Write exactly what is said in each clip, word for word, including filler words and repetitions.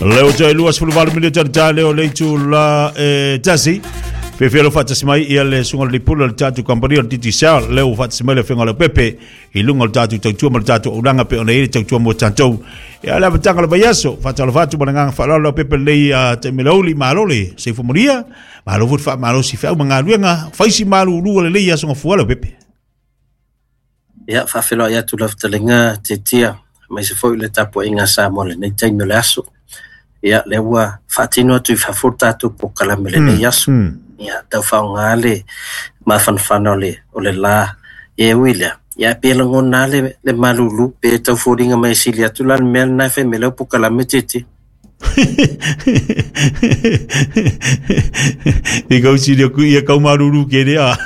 Leo te lua sefulu valu minute le tae o le itu la e tasi. Fefe faatasi mai ia le suga le pula le tatou company o le Digicel leo faatasi mai le afioga o Leaupepe i luga o le tatou tautua ma le tatou auaunaga pe ona i ai le tautua mo tatou. Ia le amataga o le vaiaso, faatalofa atu ma le agaga faaaloalo Leaupepe lenei taimi lauli, malo le soifua manuia, malo foi le faamalosi feau ma galuega, faisi malulu o lenei aso gafua Leaupepe. Ia, faafeiloai atu lau fetalaiga Tietia, aemaise foi le tapuaiga a Samoa i lenei taimi o le aso. Ia, lea ua faatino atu i fafo le tatou polokalame i lenei aso. Ia, tau faaaoga le mafanafana o le, o le la. Ia, e ui lea, ia pe lagona le, le malulu, pe tau foliga mai e sili atu la le mea lena e fai mai lau polokalame Tietia. I kau sili aku ia kau malulu ke lea.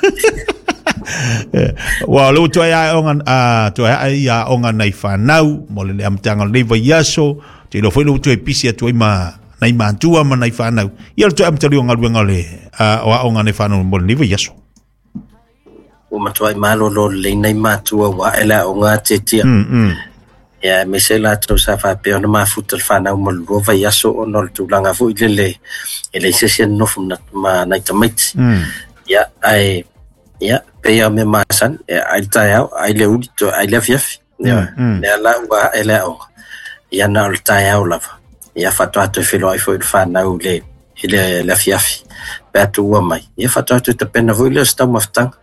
Ua leo toe aoga a toe ai aoga nai whanau mo le amataga o lenei vaiaso te iloa foi lou toe pisi atu ai ma nai matua ma nai whanau ia le toe amatalia o galuega o le o aoga nai whanau mo lenei vaiaso. Ua matuai malolo lelei nai matua ua ae le aoga Tietia. Mm, mm. Ia, aemaise latou sa faapea ona mafuta le whanau mo le lua vaiaso ona o le tulaga foi lele e leai se isi e nonofo ma nai tamaiti. Mm. Ia, ae ia, pei lava o mea masani, ia, ai le taeao, ai le uli, toe ai le afiafi. Ia, Mm, mm. lea la ua ae le aoga. Ia na o le taeao lava. Ia faatoa toe feiloai foi le whanau i le, i le, le afiafi. Pe a tuua mai. Ia faatoa toe tapena foi lea o se taumafataga.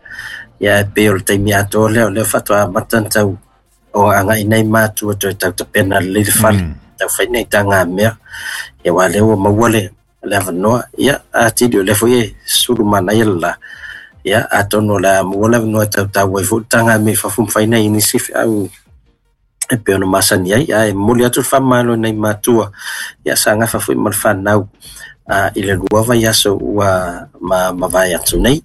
Ia e pei o le taimi atoa lea o lea faatoa amata ona tau o agai nei matua toe tau tapena lelei le fale. Mm. Tau fai nei tagamea. Ia aua lea ua maua le, le avanoa. Ia atili o lea foi e sulu manaia le la. Ia atonu o le a maua le avanoa e tautau ai foi le tagamea i fafo ma fai nai nisi feau e pei ona masani ai. Ae momoli atu le faamalo i nai matua. Ia sa gafa foi ma le whanau uh, i le lua vaiaso ua ma, mavae atu nei.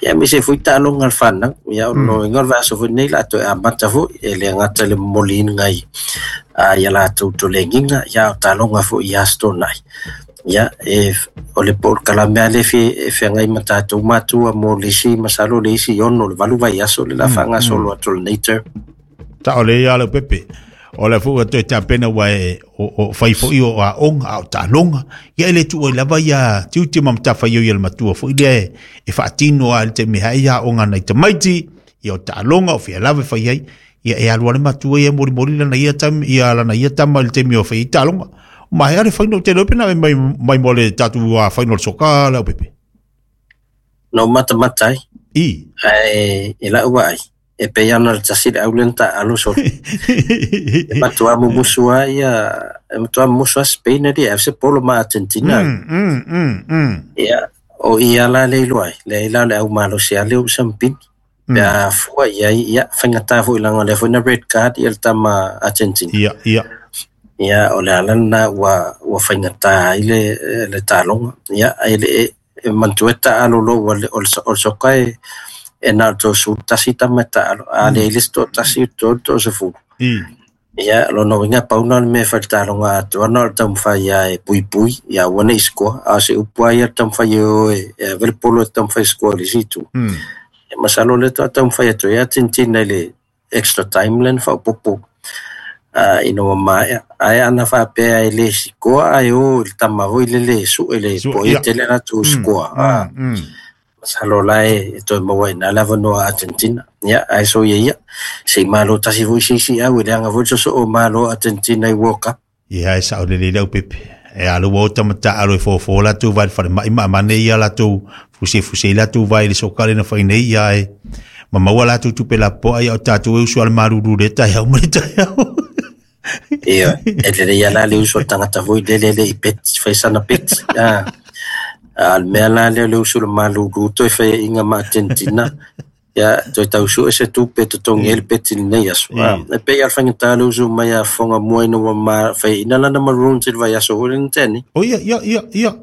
Ia aemaise foi taaloga a le whanau. Ia o Mm. loiga o le vaiaso foi nei la toe amata foi e le gata i le momoliina i uh, ia latou tolegiga. Ia o taaloga foi i aso tonai. Ia e o le polokalame a le e feagai ma tatou matua mo le isi masalo le isi ono le valu vaiaso le la Mm, mm. faagasolo atu o lenei term. Ta o le ia Leaupepe. O le foi toe tapena ua e o, o fai foi o aoga a o taaloga. Ia e le tuu ai lava ia tiute ma matafaioi a le matua foi lea e, e faatino a le taimi hai ia aoga nai tamaiti, ia o taaloga o fea lava e fai ai. Ia e alu a le matua ia molimoli lana ia tam, ia lana ia tama i le taimi o fai ai taaloga. Ma hea le final te leo pena mai, mai mo le tatou a final soka Leaupepe. Na ou matamata ai, I. ae i lau vaai, e pei ona le tasi le au lea na taaalo solo. E matua mumusu lava ia, e matua mumusu lava Spain alii e ave se polo ma Argentina. Mm, mm, mm, mm. Ia, o ia la le iloa ai, leai la o le au malosi lava lea ua sampini. Pe Mm. a fua i ai, ia, faigata foi leaga o lea foi na red card ia le tama Argentina. Ia, ia. Ia, o le ala lena ua, ua faigata ai le, le taaloga. Ia, ae le e, e manatua e taaalo loa ua le, o le, o le soka e, e na o le toasefulu tasi tama e taaalo. A leai le isi toatasi, tolu toasefulu. I. Ia, lona uiga pau na o le mea e fai i le taaloga atoa na o le taumafai lava e puipui, ia aua ne i sikoa. A o se upu lava ia le taumafai e o e, e ave le polo e taumafai e sikoa i le isi itu. Mm. E masalo lea faatoa taumafai atu ai Argentina i le extra time lea na faaopoopo uh, ina ua maea. Ae ana faapea e le sikoa ae o i le tama foi lele e sue le Sue, po ia ia. tele latou Mm, sikoa. mm, Ah, mm. masalo la e, e toe maua ai i ina le avanoa a Argentina. Ia, ae soia ia, se i malo tasi foi se isi au e leaga foi le soosoo o malo Argentina i World Cup. Ia e sao lelei Leaupepe. E alu ua o tamata alo e fofo latou vai le falemai ma amane ia latou fuse fuse i latou vai le soka le na fai nei ia e ma maua latou tupe lapoa ia o tatou e usu a le malulu le taeao ma le taeao. Ia, e lelei lava la le usu a le tagata foi lele e le i bet, fai sana bet. Ah, a le mea la lea o le usu o le malulu toe faiaina ma Argentina. Ia, toe tau sue se tupe e totogi ai le beti i lenei aso. Ah, I. e pei lava le faigata le usu mai a fofoga mua ina ua ma faiaina lana Maroons i le vaiaso foi lea na tea nei. O ia, ia, ia, ia.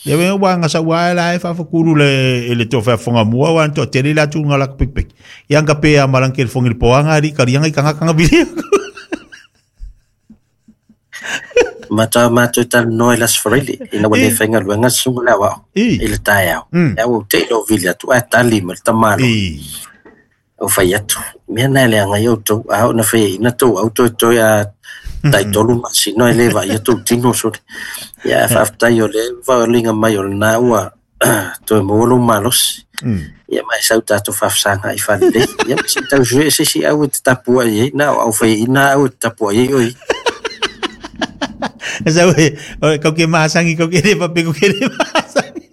Ia wea ua ngasa ua e la e faafakulu le, e le tofe afonga mua wa nto tele la tu ngala pek pek. Ia nga pe a malang ke le fongi le poanga ri kari anga i kanga kanga bili. Matua matou talanoa i le Aso Faraile ina ua le I. faigaluega le susuga le aoao I. i le taeao. Mm. Ia ua ou te'i lou vili atu ae tali ma le tamaloa. I. O fai atu, mea na e leaga ai outou, a oo na faiaina tou au toetoe a Tai tolu masina e le vaai atu tino sole. Ia faafetai o le vaolinga mai o lena ua toe maua lou malosi. Ia ma e sau tatou faafesagai faalelei. Ia ma se i tau sue se isi au e te tapuai ai na o au faiaina au e te tapuai ai oi. E sau e, kau ke masangi, kau ke le pape, kau ke le masangi.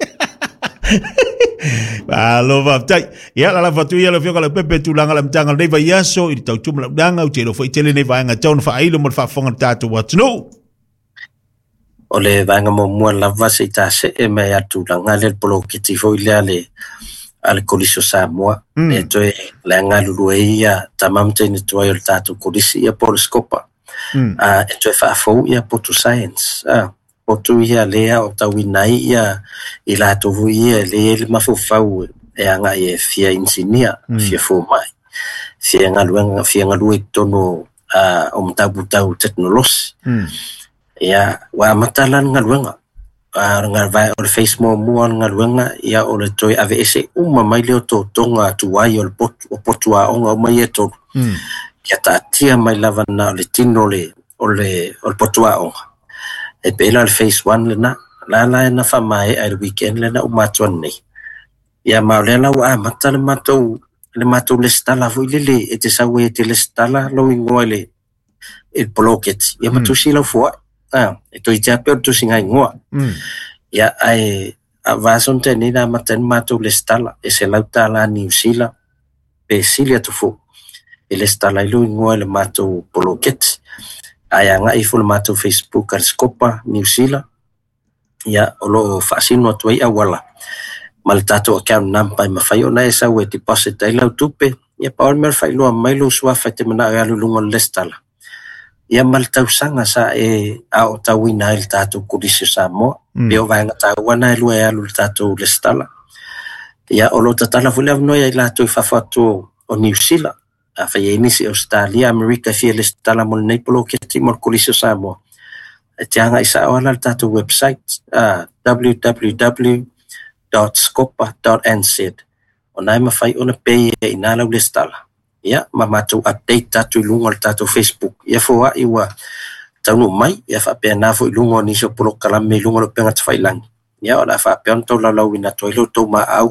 Malo faafetai. Ia la lava tu ia le fioga le pepe tulaga le mtanga nei vai aso i tau tuma laudanga u te lo foi tele nei vaega tau na faailo mo le faafofoga le tatou atunuu. O le vaega muamua lava se i tasee mai a tulaga lea le poloketi foi lea le a le Kolisi o Samoa. Mm. E toe le agalulue ai ia tama ma teine tuai o le tatou Kolisi ia po o le Scopa. Mm. Uh, e toe faafou ia potu science. Uh, potu ia lea o tauina ai ia i latou foi ia le i ai le mafaufau e agai e fia inisinia, Mm. fia fomai, fia galuega, fia galue i totonu uh, o mataupu tau tekonolosi. Mm. Ia, ua amata la le galuega. Uh, o le phase muamua o le galuega, ia o le toe aveese uma mai lea o totoga tuai o le potu, o potu aoga uma ia e tolu. Mm. Ia taatia mai lava na o le tino o le, o le, o le potu aoga. E pei la le phase one lena, la la e na faamaea i le weekend lena uma atu nei. Ia ma o lea la ua amata le matou, le matou lesitala foi lele e te sau ai e te lesitala lou igoa i le, i le poloketi. Ia ma Mm. tusi lau foai. Ah, e toe tia pea o le tusiga igoa. Mm. Ia ae a vaso te nei na amata ai le matou lesitala e selau tala Niu Sila pe sili atu foi. E lesitala ai lou igoa i le matou poloketi. Ae agai ifo le matou Facebook a le Scopa Niu Sila. Ia o loo faasino atu ai auala ma le tatou account number e mafai ona e sau e deposit ai lau tupe. Ia pau le mea o le faailoa mai lou suafa e te manao e alu i luga o le lesitala. Ia ma le tausaga sa e aotauina ai le tatou Kolisi o Samoa. Mm. Pe o vaega taua na e lua e alu i le tatou lesitala. Ia o loo tatala foi le avanoa ia i latou i fafo atu o, o Niu Sila. Afai ai nisi Australia, Amerika e fia lesitala mo lenei poloketi mo le Kolisi o Samoa. E te agai sao ala le tatou website uh, w w w dot scopa dot n z. O na e mafai ona pay e ina lau lesitala. Ia, ma matou update atu i luga o le tatou Facebook. Ia foai ua taunuu mai, ia faapena foi i luga o nisi o polokalame i luga o le upega tafailagi. Ia o le a faapea ona taulaulauina atu ai lo outou maau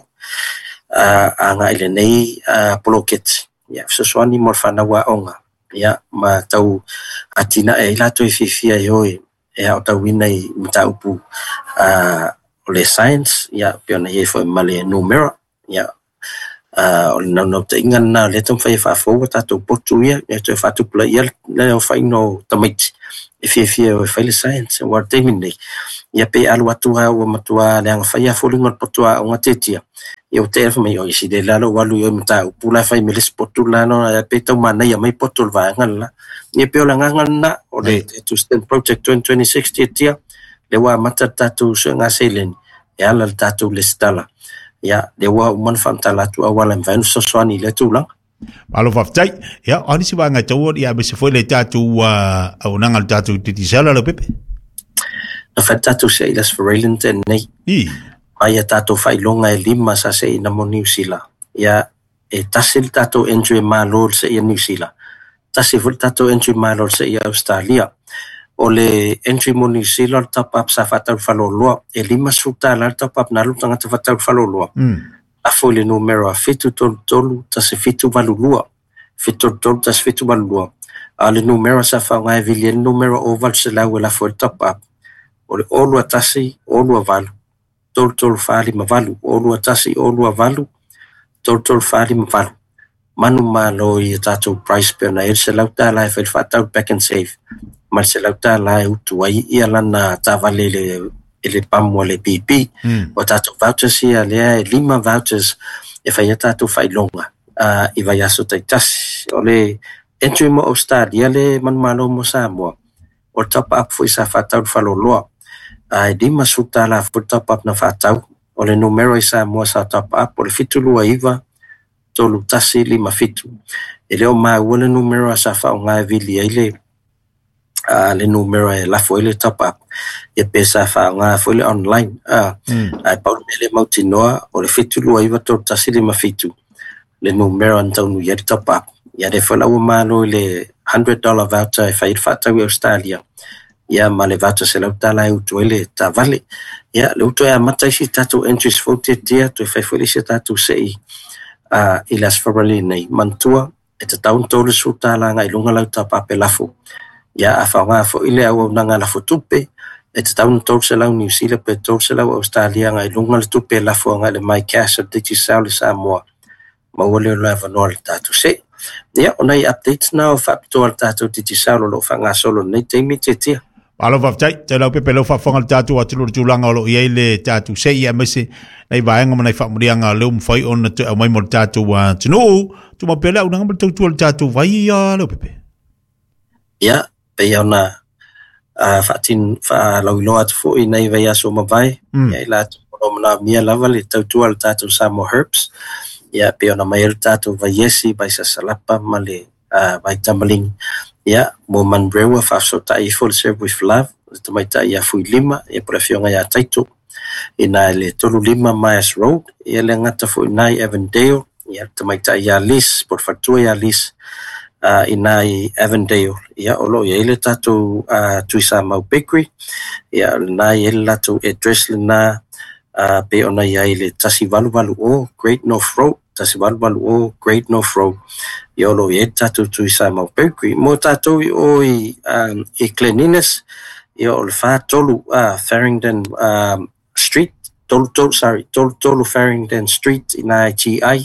uh, agai lenei uh, poloketi. Ia, fesoasoani mo le fanau aoga. Ia, ma tau atinae ai latou e fiafia e o e e aotauina i mataupu uh, o le science, ia, pe ona i ai foi ma le numera. Ia, uh, o le naunautaiga lena o lea taumafai e faafou a tatou potu ia, ia toe faatupulaia le aofaiga o tamaiti e fiafia e o e fai le science. Aua o le taimi lenei, ia pe alu atu lava ua matua leaga fai a foliga o le potu aoga tetia. Ia ua tea mai o isi le lalo ua alu i o i mataupu la e fai me le isi potu la no pe tau manaia mai potu o le vaega lela. Ia pei o le agaga lena o le to STEM Project twenty twenty-six tiatia le ua amata le tatou suega seleni e ala le tatou lesitala. Ia, lea ua uma ona faamatala atu auala e mafai ona fesoasoani i lea tulaga. Malo faafetai. Ia, o nisi vaega taua ia aemaise foi le tatou uh, auaunaga le tatou Digicel le pepe. Na fai le tatou se'i i le Aso Faraile nei. I. Mai a tatou faailoga e lima sa se'ina mo Niu Sila. Ia, e tasi le tatou entry e malo le se'i a Niu Sila. Tasi foi le tatou entry malo le se'i a Australia. O le entry mo Niu Sila o le top up sa faatau faaloloa. E limasefulu tala le top up na alu le tagata faatau faaloloa. Mm. Lafo i le numera fitu tolu tolu tasi fitu valu lua. Fitu tolu tolu tasi fitu valu lua. A o le numera sa faaaoga e vili ai le numera o valu selau e lafo ai le top up. O le o lua tasi o lua valu tolu tolu fa lima valu. O lua tasi o lua valu tolu tolu fa lima valu. Manu malo i a tatou price pe ona e le selau tala e fai le faatau Pak'nSave. Ma le selau tala e utu ai ia lana taavale i le i le pamu a le B P. Mm. O tatou vouchers ia lea e lima vouchers e fai ai tatou faailoga uh, i vaiaso taitasi. O le entry mo Australia le manumalo mo Samoa. O le top up foi sa faatau le faaloloa. Uh, e limasefulu tala foi le top up na faatau. O le numera i Samoa sa top up o le fitu lua iva tolu tasi lima fitu. E le o maua le numera sa faaaoga e vili ai le uh, le numera e lafo ai le top up. Ia pe sa faaaoga foi le online. Uh, Mm. Ae pau le mea lea mautinoa o le fitu lua iva tolu tasi lima fitu. Le numera na taunuu i ai le top up. Ia le foi la ua malo i le one hundred dollar voucher e fai ai le faatau i Australia, ia ma le voucher selau tala e utu ai le taavale. Ia le utu e amata isi tatou entries fou Tietia, toe fai foi le isi tatou se'i uh, i le Aso Faraile nei. Manatua e tatau ona tolusefulu tala agai i luga lau tapape lafo. Ia a faaaoga foi le auaunaga lafo tupe, e tatau ona tolu selau Niu Sila pe tolu selau Australia agai i luga le tupe e lafo agai le MyCash o Digicel i Samoa, maua lea o le avanoa le tatou se'i. Ia o nai updates na o faapitoa le tatou Digicel o lo o faagasolo i lenei taimi, Tietia. Malo faafetai te lau Pepe lau faafofoga le tatou atunuu le tulaga o lo o i ai le tatou se'i aemaise nai vaega ma nai faamuliaga lea ua mafai ona toe aumai mo le tatou atunuu. Tumau pea le auaunaga ma le tautua le tatou vai ia leo Pepe. Ia, pei ona uh, faatin faalauiloa atu foi nei vaiaso mavae, Mm. ia i latou o lo o manaomia lava le tautua le tatou Samoa Herbs, ia pei ona mai ai le tatou vaiesi, vai sasalapa ma le uh, vai tamaligi. Ia mo Manurewa faafesootai ifo le Serve with Love, le tamaitai ia Fuilima, ia po le afioga ia Taito ina i le tolu lima Myers Road. Ia le gata foi ina i Avondale, ia le tamaitai ia Liz po le faletua ia Liz uh, ina i Avondale, ia o lo o i ai le tatou uh, Tuisamau Bakery. Ia lena i ai le latou address lena, uh, pei ona i ai le tasi valu valu o Great North Road, tasi valu valu o Great North Road. Ia o lo o i ai le tatou Tuisamau Bakery. Mo tatou i o i, um, i Glen Innes, ia o le fa tolu uh, Farringdon um, Street, tolu tolu, sorry, tolu tolu Farringdon Street ina i G I,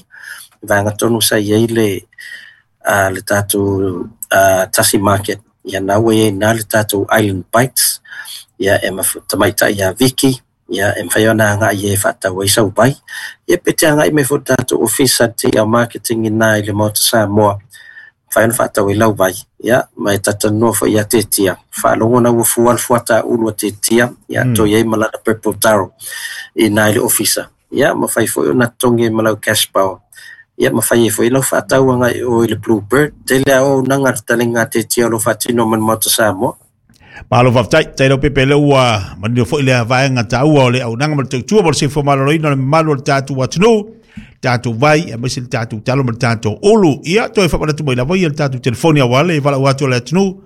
vaega tonu sa i ai le uh, le tatou uh, Tasi Market. Ia na ua i ai na le tatou Island Bites, ia e maf- tamaitai ia Vicky, ia e mafai ona agai e faatau ai sau vai. Ia pe te agai mai foi le tatou ofisa T L Marketing ina i le Maota Samoa, mafai ona faatau ai lau vai. Ia ma e talatalanoa foi ia Tietia, faalogo na ua fua le fuata ulu a Tietia, ia Mm. toe i ai ma lana purple taro ina i le ofisa. Ia mafai foi ona totogi ai ma lau cash power. Ia mafai ai foi lau faatau agai o i le Bluebird. Tele a auaunaga le talega a Tietia o lo o faatino ma le Maota Samoa. Malo faafetai te lau Pepe lea ua manino foi le vaega taua o le auaunaga ma le tautua mo le soifua maloloina o le mamalu o le tatou atunuu, tatou vai aemaise le tatou talo ma le tatou ulu. Ia toe faamanatu mai lava ia le tatou telefoni aua le valaau atu o le atunuu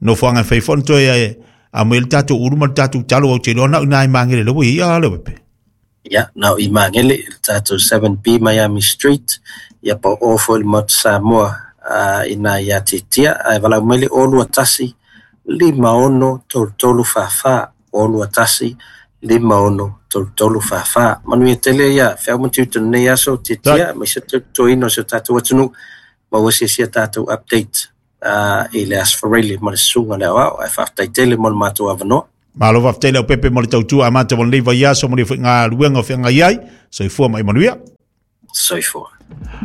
nofoaga e fai foi ona toe e aumai le tatou ulu ma le tatou talo au te iloa na o ina i Magele lea ua i ai ia leo Pepe. Ia, na o i Magele, le tatou seven B Miami Street, ia po o foi le Maota Samoa uh, ina ia Tietia, ae valaau mai le o lua tasi, lima ono, tolu tolu fa fa, o lua tasi, lima ono, tolu tolu fa fa. Manuia tele ia, feau ma tiute nei aso, Tietia, mai se toina o se tatou atunuu, ma ua siasia tatou update uh, i le Aso Faraile ma le susuga le aoao, ae faafetai tele mo le matou avanoa. Malo faafetai lau Pepe mo le tautua amata mo lenei vaiaso mo le galuega o feagai ai. Soifua ma ia manuia. Soifua.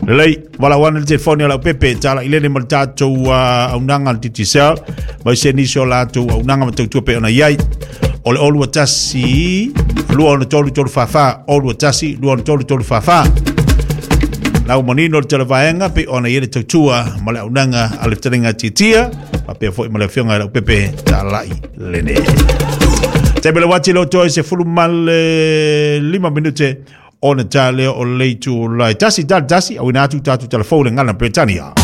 Lelei, valaau ane le telefoni o lau Pepe, tala i lele ma le tatou uh, auaunaga le Digicel, mai se nisi o latou auaunaga ma tautua pe ona i ai. O le olua tasi, lua ona tolu tolu fa fa, olua tasi, lua ona tolu tolu fa fa. Lau manino le televaenga pe ona i le tautua ma le auaunaga a le fetalaiga Tietia, faapea foi ma le afioga i lau Pepe Talai Lene. Taimi le uati lo toe sefulu ma le lima minute ona ta lea o le itulai tasi tali tasi auina atu tatou talafou le gagana Peretania.